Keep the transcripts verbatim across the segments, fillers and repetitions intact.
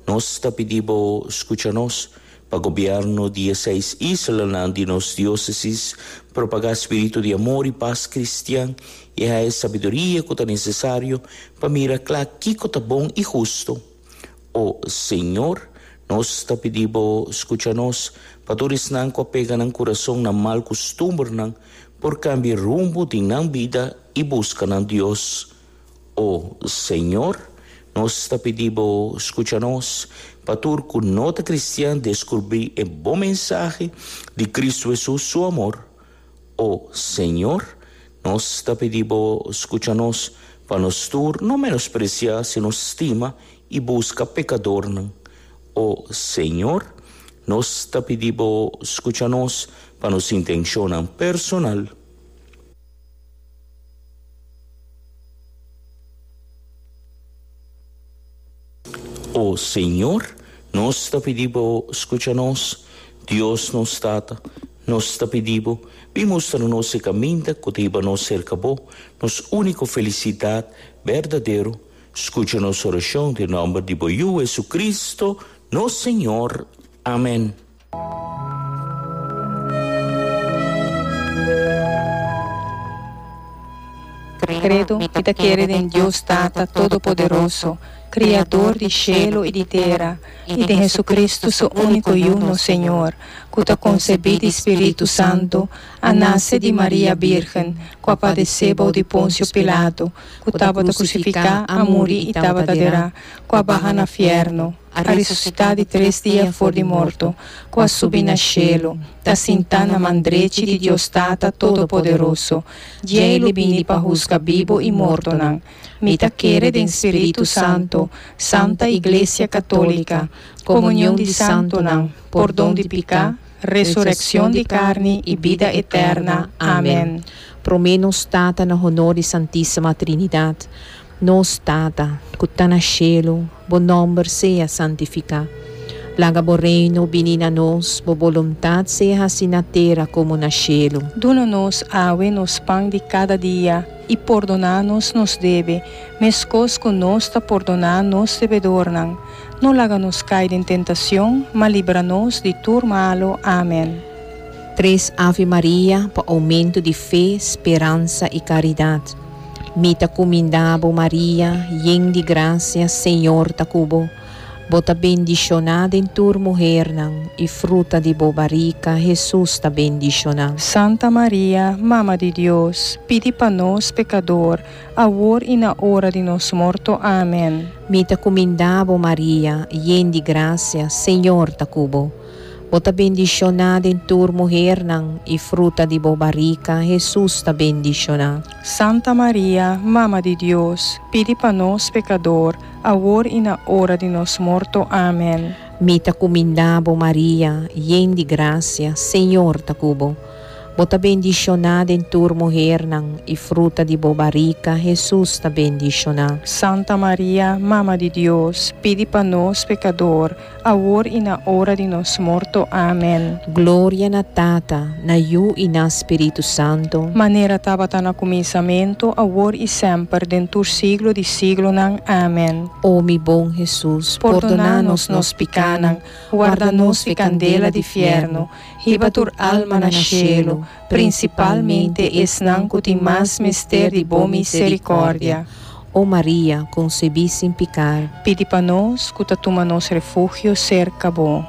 nos ta pidi Bo scucha nos, pa gobierno di e seis islanan di nos diocesis propaga spirito di amor y paz cristian y haya e sabiduria cu ta necesario pa mira cla kico ta bon y husto. O Señor, nos ta pidi Bo scucha nos, pa tur esnan cu a pega nan curason na mal custumbernan por cambia rumbo di nan bida y busca nan Dios. O Señor, nos ta pidi Bo scucha nos, pa tur cu no ta cristian descubri e bon mensahe di Cristo Jesus su amor. O Señor, nos ta pidi Bo scucha nos, pa nos tur no menosprecia sino stima y busca pecadornan. O Señor, nos ta pidi Bo scucha nos, pa nos intencionnan personal. O Señor, nos ta pidi Bo scucha nos, Dios nos Tata, nos ta pidi Bo, bin mustra nos e caminda cu ta hiba nos cerca Bo, nos unico felicidad berdadero. Scucha nos oracion den nomber di Bo Yu Jesucristo, nos Señor. Amen. Credo, mi ta kere den Dios Tata Todopoderoso, Criador di shelo y di tera, y den Jesucristo su unico Yu, nos Señor, cu ta concebi di Spiritu Santo, a nace di Maria Birgen, cu a padece bou di Poncio Pilato, cu tabata crucifica, a muri y tabata dera, cu a baha na fierno, a resucita di tres dia for di morto, cu a subi na shelo, ta sinta na man drechi di Dios Tata Todopoderoso, djei lo bini pa husga bibo y mortonan. Mi ta kere den Spiritu Santo, Santa Iglesia Catolica, comunion di santonan, pordon di pica, resureccion di carni y bida eterna. Amen. Prome Nos Tata na honor di Santisima Trinidad. Nos Tata, cu ta na shelo, Bo nomber sea santifica. Laga Bo reino bini na nos, Bo boluntad sea haci na tera como na shelo. Duna nos awe nos pan di cada dia, y pordona nos nos debe, mescos cu nos ta pordona nos debedornan. No laga nos cay den tentacion, ma libra nos di tur malo. Amen. Tres Ave Maria pa aumento di fe, speransa y caridad. Mi ta cuminda Bo, Maria, yen di gracia, Señor ta cu bo. Bo ta bendiciona den tur muhernan, y fruta di bo barica, Jesus, ta bendiciona. Santa Maria, Mama di Dios, pidi pa nos pecador, awor y na ora di nos morto. Amen. Mi ta cuminda Bo, Maria, yen di gracia, Señor ta cu bo. Bo ta bendiciona den tur muhernan, y fruta di bo barica, Jesus, ta bendiciona. Santa Maria, Mama di Dios, pidi pa nos pecador, awor y na ora di nos morto. Amen. Mi ta cuminda Bo, Maria, yen di gracia, Señor ta cu bo. Bo ta bendiciona den tur muhernan, y fruta di bo barica, Jesus, ta bendiciona. Santa Maria, Mama di Dios, pidi pa nos pecador, awor y na ora di nos morto. Amen. Gloria na Tata, na Yu y na Spiritu Santo. Manera tabata na cuminsamento, awor y semper, den tur siglo di siglonan. Amen. O mi bon Jesus, pordona nos nos picanan, warda nos di candela di fierno, hiba tur alma na cielo, principalmente esnan cu tin mas mester di bo misericordia. O Maria, concebi sin picar, pidi pa nos cu ta tuma nos refugio cerca bo.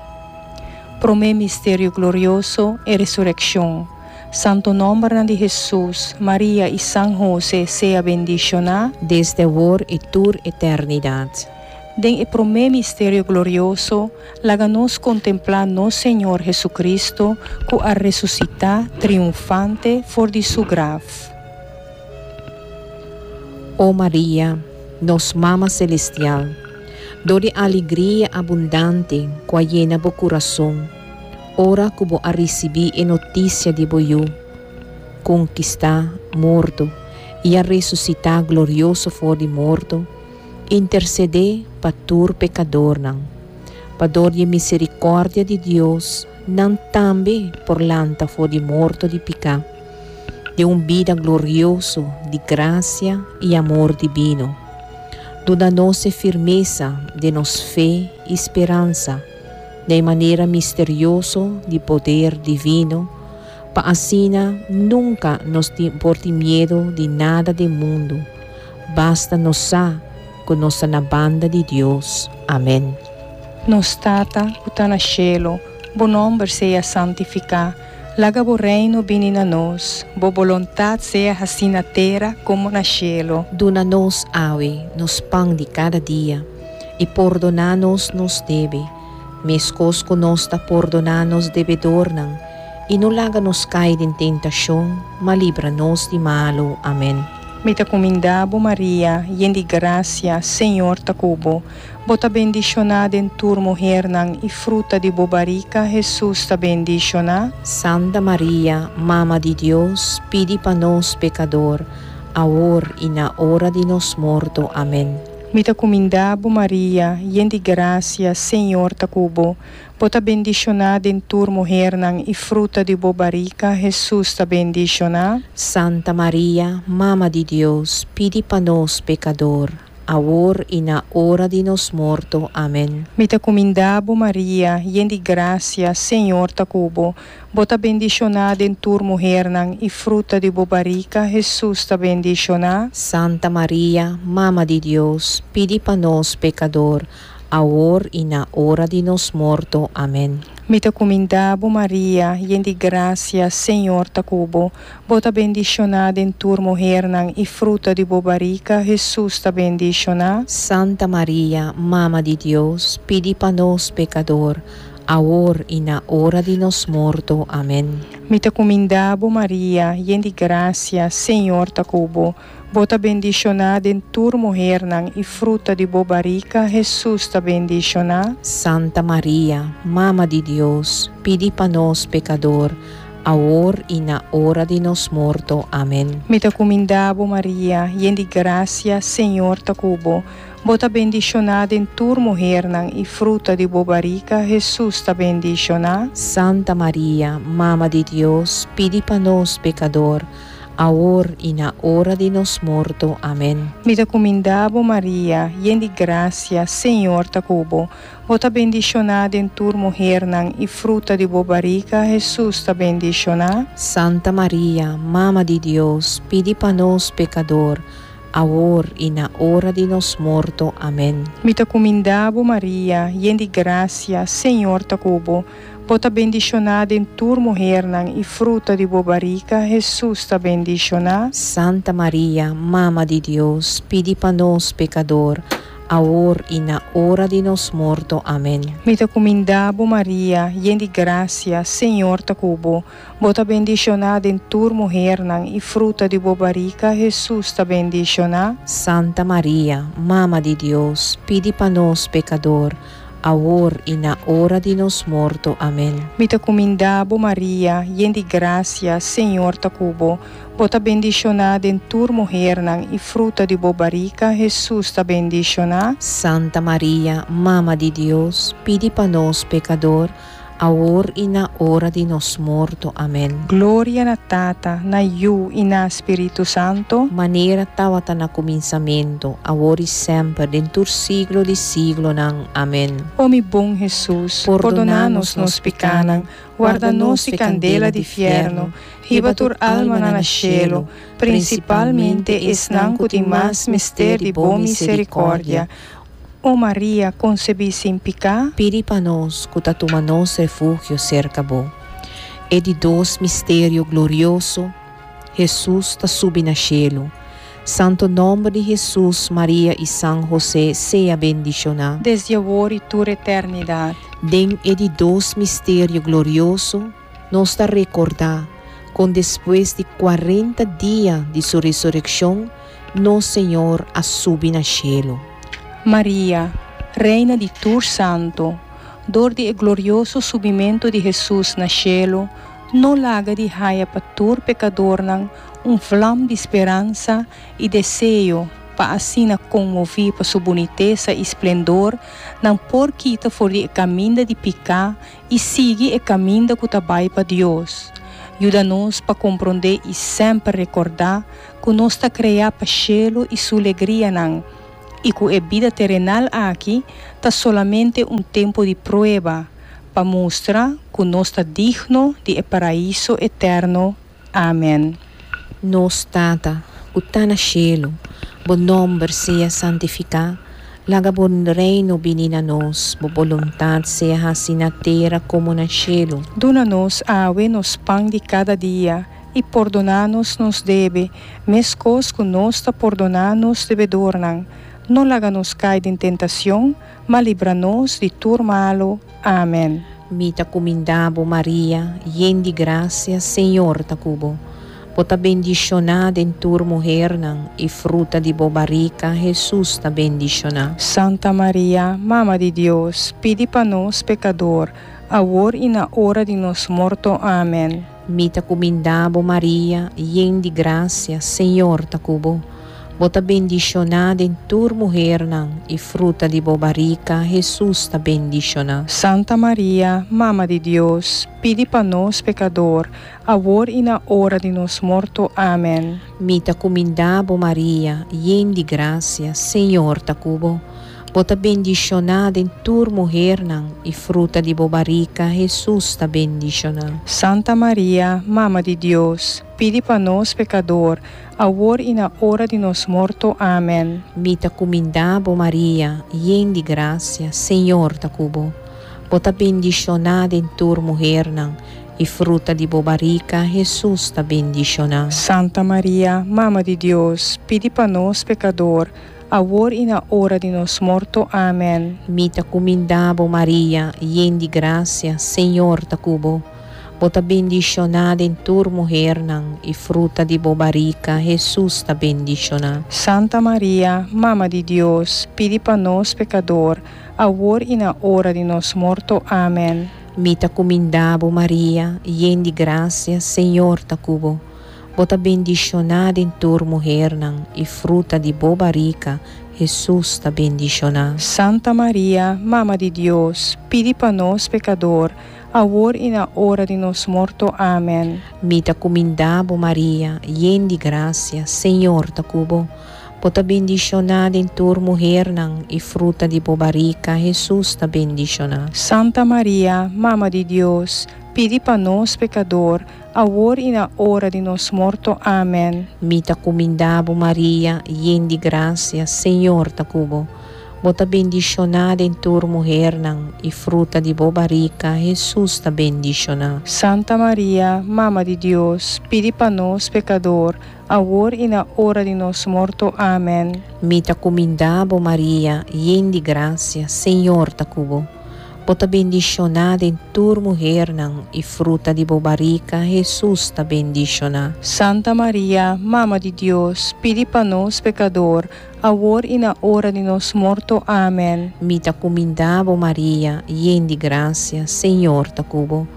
Prome misterio glorioso, e resurreccion. Santo nomber di Jesus, Maria y San Jose sea bendiciona desde awor y tur eternidad. Den e prome misterio glorioso, laga nos contempla nos Señor Jesucristo, cu a resucita triunfante for di su graf. O Maria, nos Mama Celestial, dor di alegria abundante cu a yena bo curason, ora cu bo a ricibi e noticia di bo Yu, conquista morto y a resucita glorioso for di morto, intercede pa tur pecadornan, pa dor di misericordia di Dios, nan tambe por lanta for di morto di pica, di un bida glorioso di gracia y amor divino. Duna nos e firmesa di nos fe i speransa, di manera misterioso di poder divino, pa asina nunka nos por tin miedu di nada di mundu. Basta nos sa ku nos ta na banda di Dios. Amèn. Nos Tata, ku ta na shelu, bo nòmber sea santifiká. Laga bo reino bini na nos, bo boluntat sea hasí na tera komo na shelu. Duna nos awe, nos pan di kada dia, i pordoná nos nos debe, meskos ku nos ta pordoná nos debedornan, i no laga nos kai den tentashon, ma libra nos di malu. Amèn. Mi ta kumindá bo Maria, yen di grasia, Señor ta ku bo. Bo ta bendishoná den tur muhénan i fruta di bo barika, Hesus ta bendishoná. Santa Maria, Mama di Dios, pidi pa nos pekadó, awor i na ora di nos morto. Amèn. Mi ta kumindá bo Maria, yen di grasia, Señor ta ku bo. Bo ta bendishoná den tur muhénan i fruta di bo barika, Hesus ta bendishoná. Santa Maria, Mama di Dios, pidi pa nos pekadó, awor i na ora di nos morto. Amèn. Mi ta kumindá bo Maria, yen di grasia, Señor ta ku bo. Bo ta bendishoná den tur muhénan i fruta di bo barika, Hesus ta bendishoná. Santa Maria, Mama di Dios, pidi pa nos pekadó, awor i na ora di nos morto. Amèn. Mi ta kumindá bo Maria, yen di grasia, Señor ta ku bo. Bo ta bendishoná den tur muhénan i fruta di bo barika, Hesus ta bendishoná. Santa Maria, Mama di Dios, pidi pa nos pekadó, awor i na ora di nos morto. Amèn. Mi ta kumindá bo Maria, yen di grasia, Señor ta ku bo. Bo ta bendishoná den tur muhénan i fruta di bo barika, Hesus ta bendishoná. Santa Maria, Mama di Dios, pidi pa nos pekadó, awor i na ora di nos morto. Amèn. Mi ta kumindá bo Maria, yen di grasia, Señor ta ku bo. Bo ta bendishoná den tur muhénan i fruta di bo barika, Hesus ta bendishoná. Santa Maria, Mama di Dios, pidi pa nos pekadó, awor i na ora di nos morto. Amèn. Mi ta kumindá bo Maria, yen di grasia, Señor ta ku bo. Bo ta bendishoná den tur muhénan i fruta di bo barika, Hesus ta bendishoná. Santa Maria, Mama di Dios, pidi pa nos pekadó, awor i na ora di nos morto. Amèn. Mi ta kumindá bo Maria, yen di grasia, Señor ta ku bo. Bo ta bendishoná den tur muhénan i fruta di bo barika, Hesus ta bendishoná. Santa Maria, Mama di Dios, pidi pa nos pekadó, awor i na ora di nos morto. Amèn. Mi ta kumindá bo Maria, yen di grasia, Señor ta ku bo. Bo ta bendishoná den tur muhénan i fruta di bo barika, Hesus ta bendishoná. Santa Maria, Mama di Dios, pidi pa nos pekadó, awor i na ora di nos morto. Amèn. Mi ta kumindá bo Maria, yen di grasia, Señor ta ku bo. Bo ta bendishoná den tur muhénan i fruta di bo barika, Hesus ta bendishoná. Santa Maria, Mama di Dios, pidi pa nos pekadó, awor i na ora di nos morto. Amèn. Gloria na Tata, na Yu i na Spiritu Santu. Manera tabata na kuminsamentu, awor i semper, den tur siglo di siglonan. Amèn. O mi bon Hesus, pordoná nos nos pikánan, warda nos di kandela di fièrnu, hiba tur alma na shelu, prinsipalmente esnan ku tin mas mester di bo miserikòrdia. O Maria, konsebí sin piká, Pidi pa nos, ku ta tuma nos refugio serka bo. E di dos misterio glorioso, Hesus ta subi na shelu. Santu nòmber di Hesus, Maria i San José sea bendishoná. Desde awor i tur eternidat. Den e di dos misterio glorioso, nos ta rekordá, ku despues di kuarenta dia di su resurekshon, nos Señor a subi na shelu. Maria, Reina di tur santu, dor di e glorioso subimentu di Hesus na shelu, no laga di haya pa tur pekadornan un vlam di speransa i deseo pa asina konmoví pa su bunitesa i splendor, nan por kita for di e kaminda di piká i sigui e kaminda ku ta bai pa Dios. Yuda nos pa komprondé i semper rekordá ku nos ta kreá pa shelu i su alegrianan. I ku e bida terenal aki ta solamente un tempu di prueba, pa mustra ku nos ta digno di e paraiso eterno. Amen. Nos Tata, ku ta na shelu, bo nòmber sea santifiká, laga bo reino bini na nos, bo boluntat sea hasí na tera komo na shelu. Duna nos awe nos pan di kada dia, i pordoná nos nos debe, meskos ku nos ta pordoná nos debedornan. No laga nos kai den tentashon, ma libra nos di tur malu. Amen. Mi ta kumindá bo, Maria, yen di grasia, Señor ta ku bo. Bo ta bendishoná den tur muhénan, i fruta di bo barika, Hesus, ta bendishoná. Santa Maria, Mama di Dios, pidi pa nos pekadó, awor i na ora di nos morto. Amen. Mi ta kumindá bo, Maria, yen di grasia, Señor ta ku bo. Bo ta bendishoná den tur muhénan, i fruta di bo barika, Hesus, ta bendishoná. Santa Maria, Mama di Dios, pidi pa nos pekadó, awor i na ora di nos morto. Amen. Mi ta kumindá bo, Maria, yen di grasia, Señor ta ku bo. Bo ta bendishoná den tur muhénan, i fruta di bo barika, Hesus, ta bendishoná. Santa Maria, Mama di Dios, pidi pa nos pekadó, awor i na ora di nos morto. Amen. Mi ta kumindá bo, Maria, yen di grasia, Señor ta ku bo. Bo ta bendishoná den tur muhénan, i fruta di bo barika, Hesus, ta bendishoná. Santa Maria, Mama di Dios, pidi pa nos pekadó, awor i na ora di nos morto. Amen. Mi ta kumindá bo, Maria, yen di grasia, Señor ta ku bo. Bo ta bendishoná den tur muhénan, i fruta di bo barika, Hesus, ta bendishoná. Santa Maria, Mama di Dios, pidi pa nos pekadó, awor i na ora di nos morto. Amen. Mi ta kumindá bo, Maria, yen di grasia, Señor ta ku bo. Bo ta bendishoná den tur muhénan, i fruta di bo barika, Hesus, ta bendishoná. Santa Maria, Mama di Dios, pidi pa nos pekadó, awor i na ora di nos morto. Amen. Mi ta kumindá bo, Maria, yen di grasia, Señor ta ku bo. Bo ta bendishoná den tur muhénan, i fruta di bo barika, Hesus, ta bendishoná. Santa Maria, Mama di Dios, pidi pa nos pekadó, awor i na ora di nos morto. Amen. Mi ta kumindá bo, Maria, yen di grasia, Señor ta ku bo. Bo ta bendishoná den tur muhénan, i fruta di bo barika, Hesus, ta bendishoná. Santa Maria, Mama di Dios, pidi pa nos pekadó, awor i na ora di nos morto. Amen. Mi ta kumindá bo, Maria, yen di grasia, Señor ta ku bo. Bo ta bendishoná den tur muhénan, i fruta di bo barika, Hesus, ta bendishoná. Santa Maria, Mama di Dios, pidi pa nos pekadó, awor i na ora di nos morto. Amen. Mi ta kumindá bo, Maria, yen di grasia, Señor ta ku bo.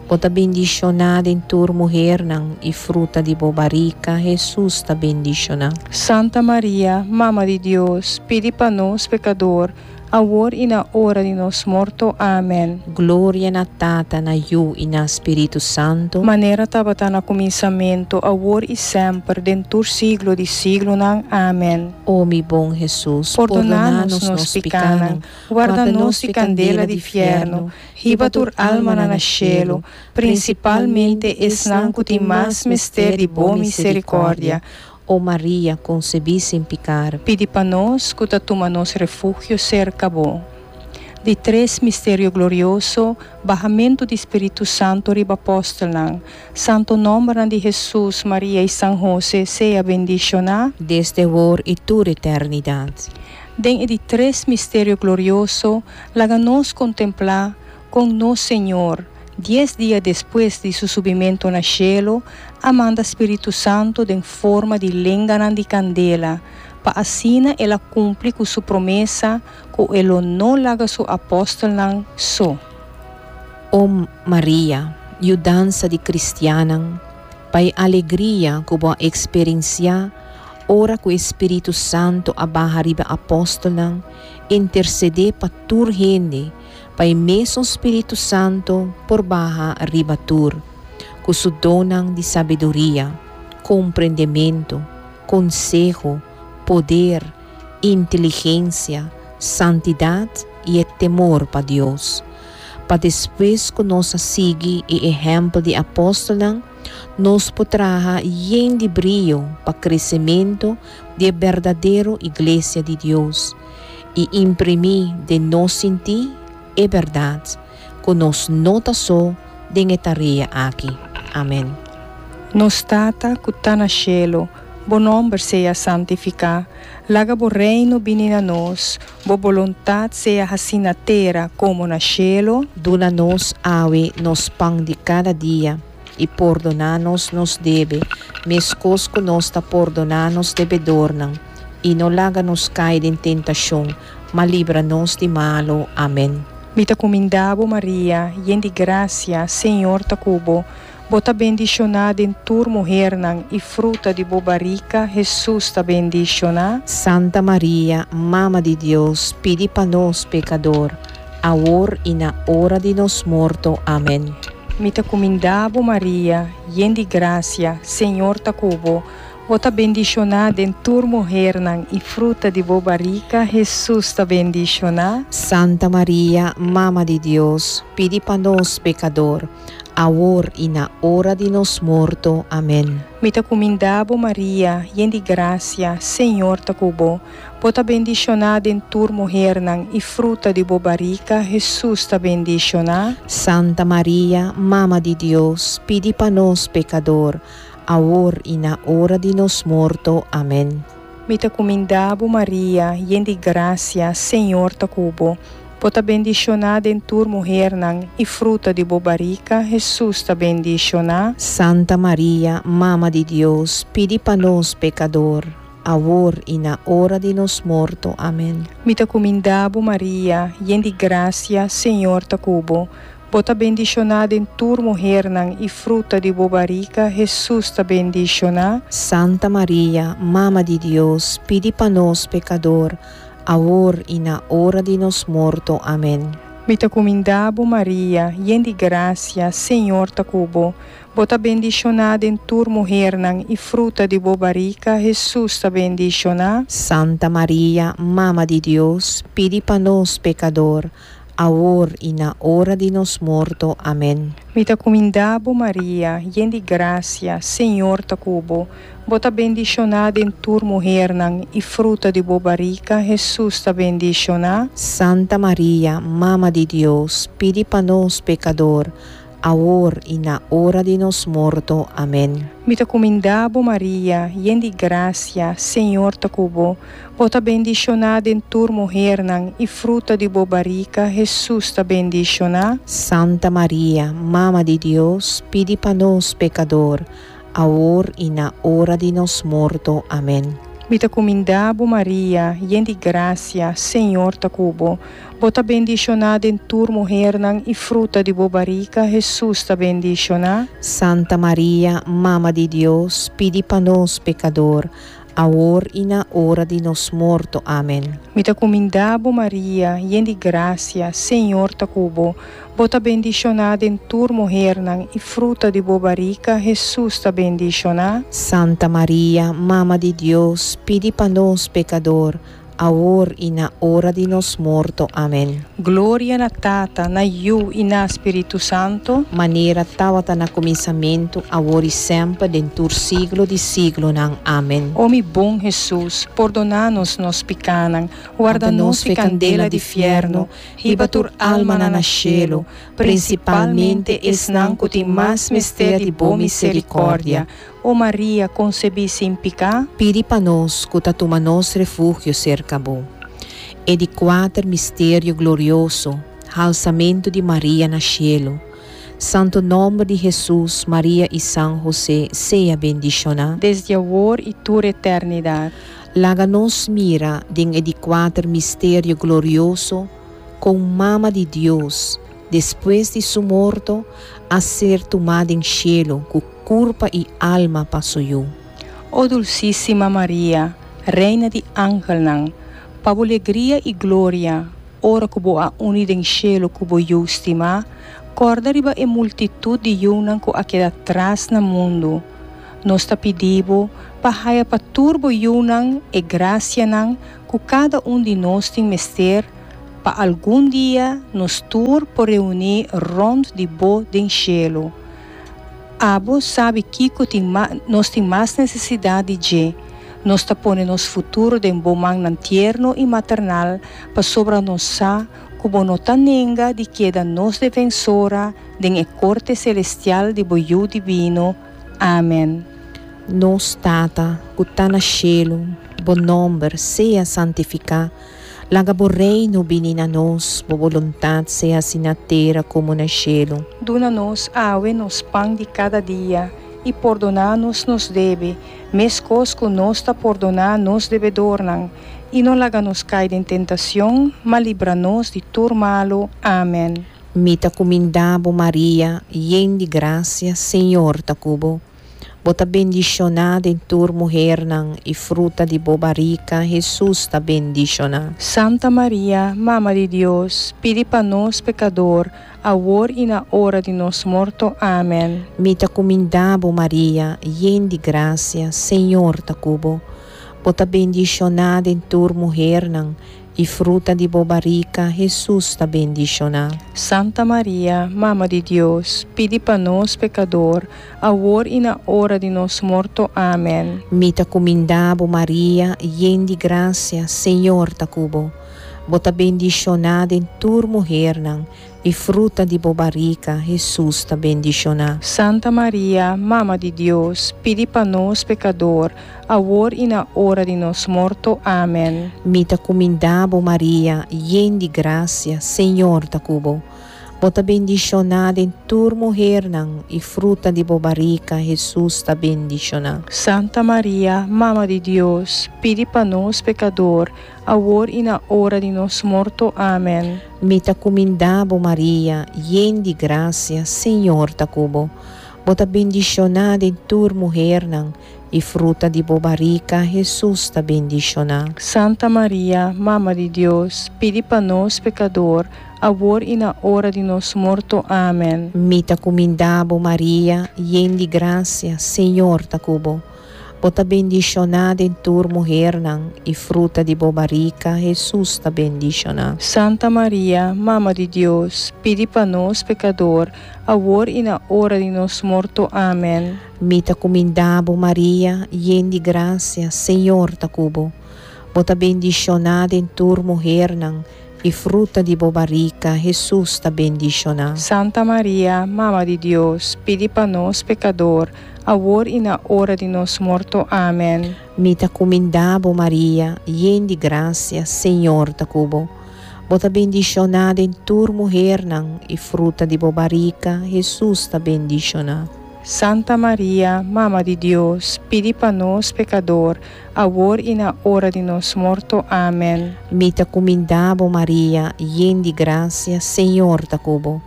Bo ta bendishoná den tur muhénan, i fruta di bo barika, Hesus, ta bendishoná. Santa Maria, Mama di Dios, pidi pa nos pekadó, awor i na ora di nos morto. Amen. Gloria na Tata, na Yu i na Spiritu Santu. Manera tabata na kuminsamentu, awor i semper, den tur siglo di siglonan. Amen. O mi bon Hesus, pordoná nos nos pikánan, warda nos di kandela di fièrnu, hiba tur alma na shelu, prinsipalmente esnan ku tin mas mester di bo miserikòrdia. O Maria, konsebí sin piká, pidi pa nos ku ta tuma nos refugio serka bo. Di tres misterio glorioso, bahamentu di Spiritu Santu riba apòstelnan. Santu nòmber di Hesus, Maria i San Hosé sea bendishoná, desde awor i tur eternidat. Den e di tres misterio glorioso, laga nos kontemplá kon nos Señor, dies dia despues di su subimentu na shelu, a manda Spiritu Santu den forma di lenganan di kandela, pa asina el a kumpli ku su promesa ku e lo no laga su apòstelnan so. O Maria, yudansa di kristiannan, pa e alegria ku bo a eksperensiá, ora ku Spiritu Santu a baha riba apòstelnan, intersedé pa tur hende, pa e mesun Spiritu Santu por baha riba tur, ku su donnan di sabiduria, komprendementu, konseho, poder, Inteligensia, santidat i e temor pa Dios. Pa despues ku nos a sigui e ehèmpel di apòstelnan, nos por traha yen di brio pa kresementu di e berdadero Iglesia di Dios i imprimí den nos sintí e bèrdat ku nos no ta so den e tarea aki. Amèn. Nos Tata ku ta na shelu, bo nòmber sea santifiká. Laga bo reino bini na nos, bo boluntat sea hasí na tera komo na shelu. Duna nos awe nos pan di kada dia, i pordoná nos nos debe, meskos ku nos ta pordoná nos debedornan, i no laga nos kai den tentashon, ma libra nos di malu. Amèn. Mi ta kumindá bo, Maria, yen di grasia, Señor ta ku bo. Bo ta bendishoná den tur muhernan, i fruta di bo barika, Hesus, ta bendishoná. Santa Maria, Mama di Dios, pidi pa nos pekador, awor i na ora di nos morto. Amèn. Mi ta kumindá bo, Maria, yen di grasia, Señor ta ku bo. Bo ta bendishoná den tur muhernan, i fruta di bo barika, Hesus, ta bendishoná. Santa Maria, Mama di Dios, pidi pa nos pekador, awor i na ora di nos morto. Amèn. Mi ta kumindá bo, Maria, yen di grasia, Señor ta ku bo. Bo ta bendishoná den tur muhernan, i fruta di bo barika, Hesus, ta bendishoná. Santa Maria, Mama di Dios, pidi pa nos pekador, awor i na ora di nos morto. Amèn. Mi ta kumindá bo, Maria, yen di grasia, Señor ta ku bo. Bo ta bendishoná den tur muhernan, i fruta di bo barika, Hesus, ta bendishoná. Santa Maria, Mama di Dios, pidi pa nos pekador, awor i na ora di nos morto. Amèn. Mi ta kumindá bo, Maria, yen di grasia, Señor ta ku bo. Bo ta bendishoná den tur muhernan, i fruta di bo barika, Hesus, ta bendishoná. Santa Maria, Mama di Dios, pidi pa nos pekador, awor i na ora di nos morto. Amèn. Mi ta kumindá bo, Maria, yen di grasia, Señor ta ku bo. Bo ta bendishoná den tur muhernan, i fruta di bo barika, Hesus, ta bendishoná. Santa Maria, Mama di Dios, pidi pa nos pekador, awor i na ora di nos morto. Amèn. Mi ta kumindá bo, Maria, yen di grasia, Señor ta ku bo. Bo ta bendishoná den tur muhernan, i fruta di bo barika, Hesus, ta bendishoná. Santa Maria, Mama di Dios, pidi pa nos pekador, awor i na ora di nos morto. Amèn. Mi ta kumindá bo, Maria, yen di grasia, Señor ta ku bo. Bo ta bendishoná den tur muhernan, i fruta di bo barika, Hesus, ta bendishoná. Santa Maria, Mama di Dios, pidi pa nos pekador, awor i na ora di nos morto. Amèn. Mi ta kumindá bo, Maria, yen di grasia, Señor ta ku bo. Bo ta bendishoná den tur muhernan, i fruta di bo barika, Hesus, ta bendishoná. Santa Maria, Mama di Dios, pidi pa nos pekador, awor i na ora di nos morto. Amèn. Mi ta kumindá bo, Maria, yen di grasia, Señor ta ku bo. Bo ta bendishoná den tur muhernan, i fruta di bo barika, Hesus, ta bendishoná. Santa Maria, Mama di Dios, pidi pa nos pekador, awor i na ora di nos morto. Amèn. Gloria na Tata, na Yu i na Spiritu Santu. Manera tabata na kuminsamentu, awor i semper, den tur siglo di siglonan. Amèn. O mi bon Hesus, pordoná nos nos pikánan, warda nos di kandela di fièrnu, hiba tur alma na shelu, prinsipalmente esnan ku tin mas mester di bo miserikòrdia. O Maria, konsebí sin piká, Pidi pa nos ku ta tuma nos refugio serka bo. E di kuater misterio glorioso, halsamentu di Maria na shelu. Santu nòmber di Hesus, Maria i San José, sea bendishoná. Desde awor i tur eternidat. Laga nos mira den e di kuater misterio glorioso kon Mama di Dios, despues di su morto, a ser tumá den shelu ku kurpa i alma pa su Yu. O Dulsísima Maria, Reina di angelnan, pa bo alegria i gloria, ora ku bo a uni den shelu ku bo Yu stimá, kòrda riba e multitut di yunan ku a keda atras na mundu. Nos ta pidi bo pa Pa haya pa tur bo yunan e gracianan cu cada un di nos tin mester pa algun dia nos tur por reuni rond di bo den cielo. Abo sabi kico tin nos tin mas necesidad di dje. Nos ta pone nos futuro den bo mannan tierno y maternal pasobra nos sa cu bo no ta nenga di keda nos defensora den e corte celestial di bo Yiu Divino. Amen. Nos Tata, cu ta na cielo, bo nomber sea santifica. Laga bo reino bini na nos, bo voluntad sea na tera como na cielo. Duna nos awe nos pan di cada dia y pordona nos nos debe, mescos cu nos ta pordona nos debedornan, y no laga nos cay den tentacion, ma libra nos di tur malo. Amen. Mi ta cuminda bo Maria, yen di gracia, Señor ta cu bo. Bo ta bendiciona den tur muhernan y fruta di bo barica, Jesus ta bendiciona. Santa Maria, Mama di Dios, pidi pa nos pecador, awor y na ora di nos morto. Amen. Mi ta cuminda bo Maria, yen di gracia, Señor ta cu bo. Bo ta bendiciona den tur muhernan y fruta di bo barica, Jesus ta bendiciona. Santa Maria, Mama di Dios, pidi pa nos pecador, awor y na ora di nos morto. Amen. Mi ta cuminda bo Maria, yen di gracia, Señor ta cu bo. Bo ta bendiciona den tur muhernan y fruta di bo barica, Jesus ta bendiciona. Santa Maria, Mama di Dios, pidi pa nos pecador, awor y na ora di nos morto. Amen. Mi ta cuminda bo Maria, yen di gracia, Señor ta cu bo. Bo ta bendiciona den tur muhernan y fruta di bo barica, Jesus ta bendiciona. Santa Maria, Mama di Dios, pidi pa nos pecador, awor y na ora di nos morto. Amen. Mi ta cuminda bo Maria, yen di gracia, Señor ta cu bo. Bo ta bendiciona den tur muhernan y fruta di bo barica, Jesus ta bendiciona. Santa Maria, Mama di Dios, pidi pa nos pecador, awor y na ora di nos morto. Amen. Mi ta cuminda bo Maria, yen di gracia, Señor ta cu bo. Bo ta bendiciona den tur muhernan y fruta di bo barica, Jesus ta bendiciona. Santa Maria, Mama di Dios, pidi pa nos pecador, awor y na ora di nos morto. Amen. Mi ta cuminda bo Maria, yen di gracia, Señor ta cu bo. Bo ta bendiciona den tur muhernan y fruta di bo barica, Jesus ta bendiciona. Santa Maria, Mama di Dios, pidi pa nos pecador, awor y na ora di nos morto. Amen. Mi ta cuminda bo Maria, yen di gracia, Señor ta cu bo. Bo ta bendiciona den tur muhernan y fruta di bo barica, Jesus ta bendiciona. Santa Maria, Mama di Dios, pidi pa nos pecador, awor y na ora di nos morto. Amen. Mi ta cuminda bo Maria, yen di gracia, Señor ta cu bo.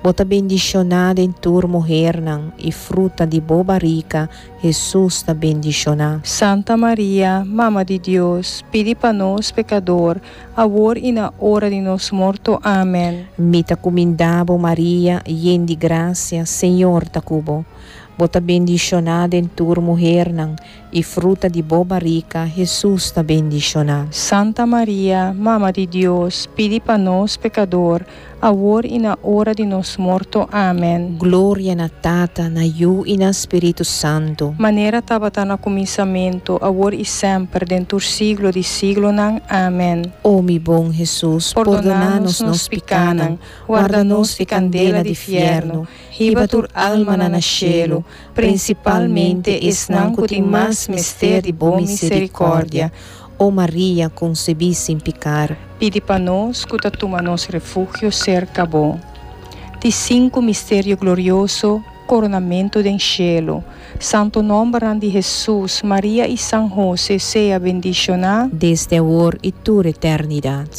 Bo ta bendiciona den tur muhernan y fruta di bo barica, Jesus ta bendiciona. Santa Maria, Mama di Dios, pidi pa nos pecador, awor y na ora di nos morto. Amen. Mi ta cuminda bo Maria, yen di gracia, Señor ta cu bo. Bo ta bendiciona den tur muhernan y fruta di bo barica, Jesus ta bendiciona. Santa Maria, Mama di Dios, pidi pa nos pecador, awor y na ora di nos morto. Amen. Gloria na Tata, na Yiu y na Spirito Santo. Manera tabata na cuminsamento, awor y semper, den tur siglo di siglonan. Amen. O mi bon Jesus, pordona nos nos picanan, warda nos di candela di fierno, hiba tur alma na cielo, principalmente esnan cu tin mas mester di bo misericordia. O Maria, concebi sin picar, Pidi pa nos cu ta tuma nos refugio cerca bo. Di cinco misterio glorioso, coronamento den cielo. Santo nomber di Jesus, Maria y San José sea bendiciona desde awor y tur eternidad.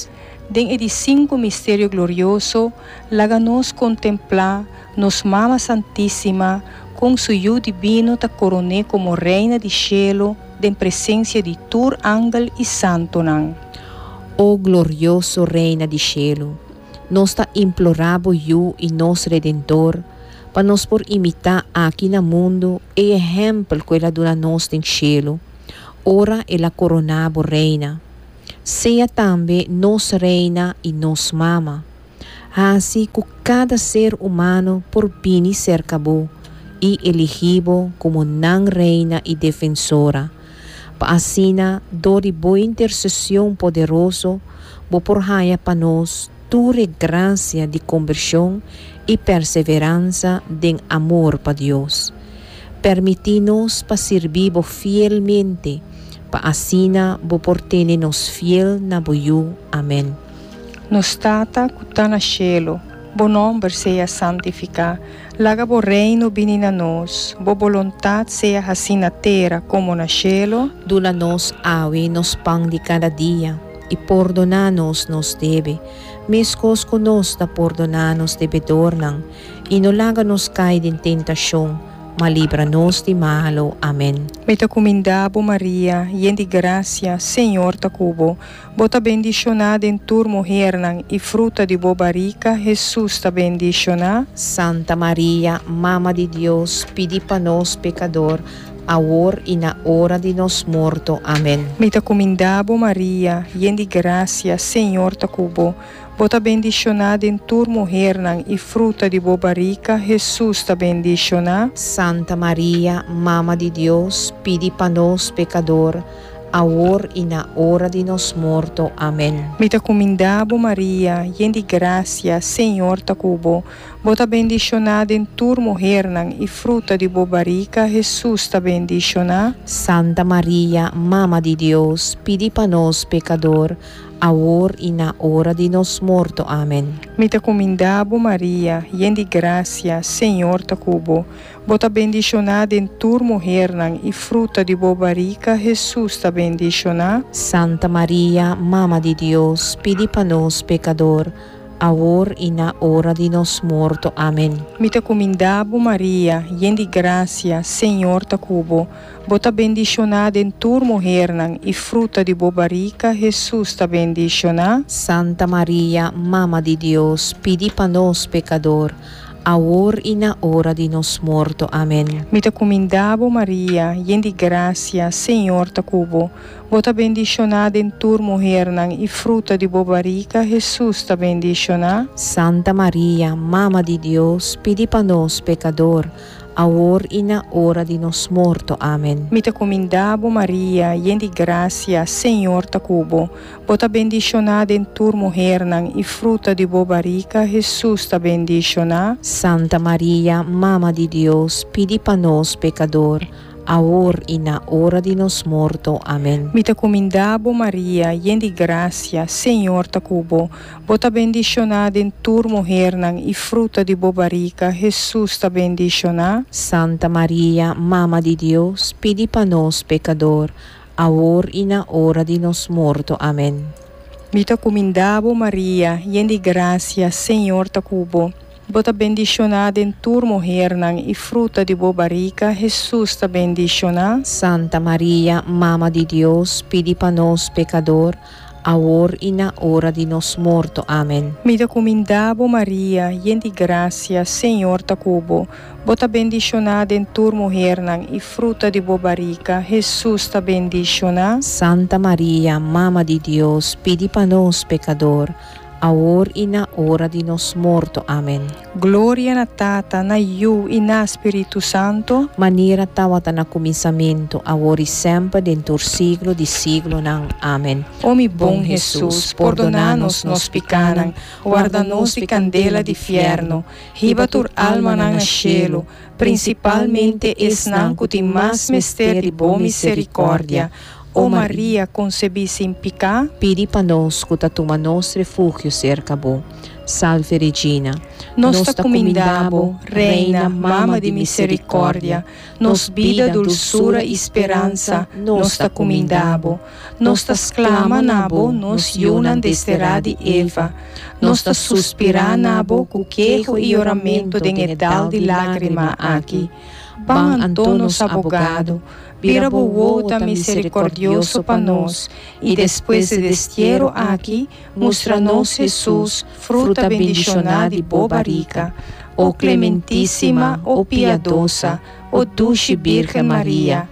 Den e di cinco misterio glorioso, laga nos contempla nos Mama Santisima con su Yiu Divino ta coron'e como Reina di Cielo, den presencia di tur angel y santonan. O glorioso Reina di Cielo, nos ta implora bo Yiu y nos Redentor, Pa nos por imitá aki na mundu e ehèmpel ku el a duna nos den shelu, ora el a koroná bo reina. Sea tambe nos Reina i nos Mama. Hasi ku kada ser humano por bini serka bo i eligí bo komo nan Reina i Defensora, pa asina dor di bo interseshon poderoso bo por haña pa nos tur e grasia di kombershon i perseveransia den amor pa Dios. Permití nos pa sirbi bo fielmente, pa asina bo por tene nos fiel na bo Yu. Amèn. Nos Tata ku ta na shelu, bo nòmber sea santifiká. Laga bo reino bini na nos, bo boluntat sea hasí na tera komo na shelu. Duna nos awe nos pan di kada dia, i pordoná nos nos debe, meskos ku nos ta pordoná nos debedornan, i no laga nos kai den tentashon, ma libra nos di malu. Amèn. Mi ta kumindá bo Maria, yen di grasia, Señor ta ku bo. Bo ta bendishoná den tur muhénan, i fruta di bo barika, Hesus, ta bendishoná. Santa Maria, Mama di Dios, pidi pa nos pekadó, awor i na ora di nos morto. Amèn. Mi ta kumindá bo Maria, yen di grasia, Señor ta ku bo. Bo ta bendishoná den tur muhénan, i fruta di bo barika, Hesus, ta bendishoná. Santa Maria, Mama di Dios, pidi pa nos pekadó, awor i na ora di nos morto. Amèn. Mi ta kumindá bo Maria, yen di grasia, Señor ta ku bo. Bo ta bendishoná den tur muhénan, i fruta di bo barika, Hesus, ta bendishoná. Santa Maria, Mama di Dios, pidi pa nos pekadó, awor i na ora di nos morto. Amèn. Mi ta kumindá bo Maria, yen di grasia, Señor ta ku bo. Bo ta bendishoná den tur muhénan, i fruta di bo barika, Hesus, ta bendishoná. Santa Maria, Mama di Dios, pidi pa nos pekadó, awor i na ora di nos morto. Amèn. Mi ta kumindá bo Maria, yen di grasia, Señor ta ku bo. Bo ta bendishoná den tur muhénan, i fruta di bo barika, Hesus, ta bendishoná. Santa Maria, Mama di Dios, pidi pa nos pekadó, awor i na ora di nos morto. Amèn. Mi ta kumindá bo Maria, yen di grasia, Señor ta ku bo. Bo ta bendishoná den tur muhénan, i fruta di bo barika, Hesus, ta bendishoná. Santa Maria, Mama di Dios, pidi pa nos pekadó, awor i na ora di nos morto. Amèn. Mi ta kumindá bo Maria, yen di grasia, Señor ta ku bo. Bo ta bendishoná den tur muhénan, i fruta di bo barika, Hesus, ta bendishoná. Santa Maria, Mama di Dios, pidi pa nos pekadó, awor i na ora di nos morto. Amèn. Mi ta kumindá bo Maria, yen di grasia, Señor ta ku bo. Bo ta bendishoná den tur muhénan, i fruta di bo barika, Hesus, ta bendishoná. Santa Maria, Mama di Dios, pidi pa nos pekadó, awor i na ora di nos morto. Amèn. Mi ta kumindá bo Maria, yen di grasia, Señor ta ku bo. Bo ta bendishoná den tur muhénan, i fruta di bo barika, Hesus, ta bendishoná. Santa Maria, Mama di Dios, pidi pa nos pekadó, awor i na ora di nos morto. Amèn. Mi ta kumindá bo Maria, yen di grasia, Señor ta ku bo. Bo ta bendishoná den tur muhénan, i fruta di bo barika, Hesus, ta bendishoná. Santa Maria, Mama di Dios, pidi pa nos pekadó, awor i na ora di nos morto. Amèn. Gloria na Tata, na Yu i na Spiritu Santu. Manera tabata na kuminsamentu, awor i semper, den tur siglo di siglonan. Amèn. O mi bon Hesus, pordoná nos nos pikánan, warda nos di kandela di fièrnu, hiba tur almanan na shelu, prinsipalmente esnan ku tin mas mester di bo miserikòrdia. O Maria, konsebí sin piká, Pidi pa nos ku ta tuma nos refugio serka bo. Salve Regina. Nos ta kumindá bo, Reina, Mama di Miserikòrdia, nos bida, dulsura i speransa, nos ta kumindá bo. Nos ta sklama na bo, nos yunan desterá di Eva. Nos ta suspirá na bo ku keho i yoramentu den e dal di lágrima aki. Ban anto, nos abogado, bira bo wowo miserikòrdioso pa nos, i despues di destiero aki, mustra nos Hesus, fruta bendishoná di bo barika. O clementísima, o piadosa, o dushi Virgen Maria,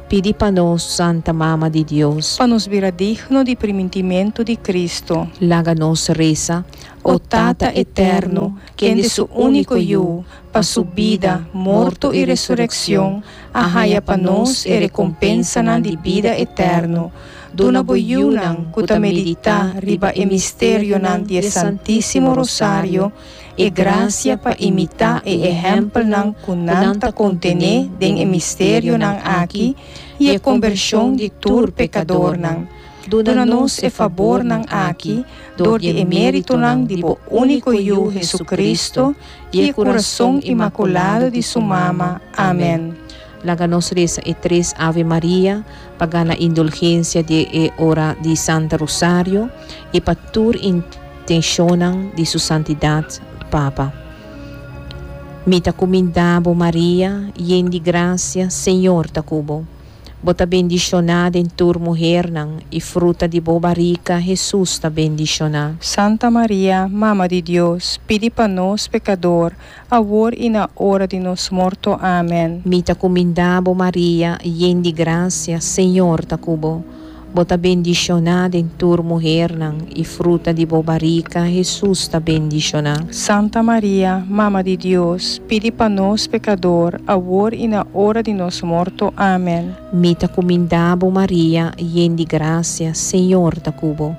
Pidi pa nos, Santa Mama di Dios, pa nos bira digno di primintimento di Cristo. Laga nos resa. O Tata eterno, kende su único Yu, pa su bida, morto y resurrección, a haya pa nos e recompensa di bida eterno. Duna bo yunan ku ta meditá riba e misterionan di Santísimo Rosario e gracia pa imitá e ehempelnan ku nan ta kontené den e misterionan aki y e konvershon di tur pekadornan. Duna nos e fabornan aki, dor di e méritonan di bo único Yu Jesucristo y e corazón inmaculado di su mama. Amèn. Laga nos resa e tres Ave Maria, pa gana indulgensia di e ora di Santa Rosario y pa tur intenshonnan di su santidat Papa. Mi ta kumindá bo Maria, yen di grasia, Señor ta ku bo. Bo ta bendishoná den tur muhénan, y fruta di bo barika, Jesus ta bendishoná. Santa Maria, Mama di Dios, pidi pa nos pekadó, awor y na ora di nos morto. Amèn. Mi ta kumindá bo Maria, yen di grasia, Señor ta ku bo. Bo ta bendishoná den tur muhénan, y fruta di bo barika, Jesus ta bendishoná. Santa Maria, Mama di Dios, pidi pa nos pekadó, awor y na ora di nos morto. Amèn. Mi ta kumindá bo Maria, yen di grasia, Señor ta ku bo.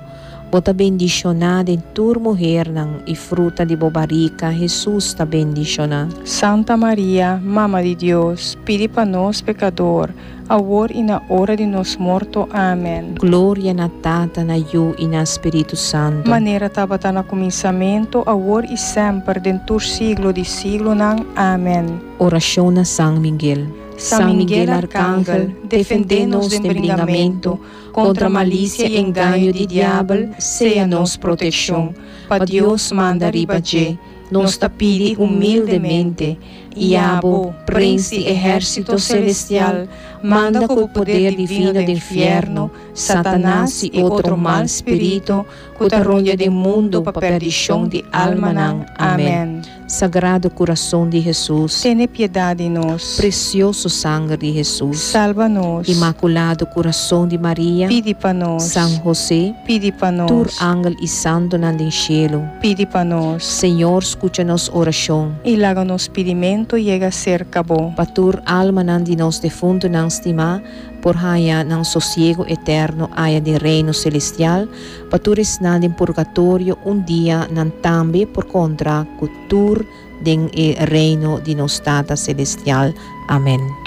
Bo ta bendishoná den tur muhénan, y fruta di bo barika, Jesus ta bendishoná. Santa Maria, Mama di Dios, pidi pa nos pekadó, awor y na ora di nos morto. Amèn. Gloria na Tata, na Yu y na Spiritu Santu. Manera tabata na kuminsamentu, awor y semper, den tur siglo di siglonan. Amèn. Orashon na San Miguel. San Miguel Arcángel, defendé nos den bringamentu kontra malisia y engaño di diabel, sea nos protekshon. Pa Dios manda riba dje, nos ta pidi humildemente, y abo, prens di ehérsito selestial, manda ku poder divino di infierno, Satanas y otro mal spiritu, ku ta rondia den mundu pa perdishon di almanan. Amèn. Sagrado Kurason di Jesus, Tene piedat di nos. Presioso Sanger di Jesus, Salba nos. Inmakulado Kurason di Maria, Pidi pa nos. San José, Pidi pa nos. Tur angel y santonan den shelu, Pidi pa nos. Señor, skucha nos orashon. Y laga nos pidimentu yega serka bo. Pa tur almanan di nos defuntunan stimá, por haña nan sosiego eterno aya den reino selestial, pa tur esnan den purgatorio un dia nan tambe por kontra ku tur den e reino di nos Tata Selestial. Amèn.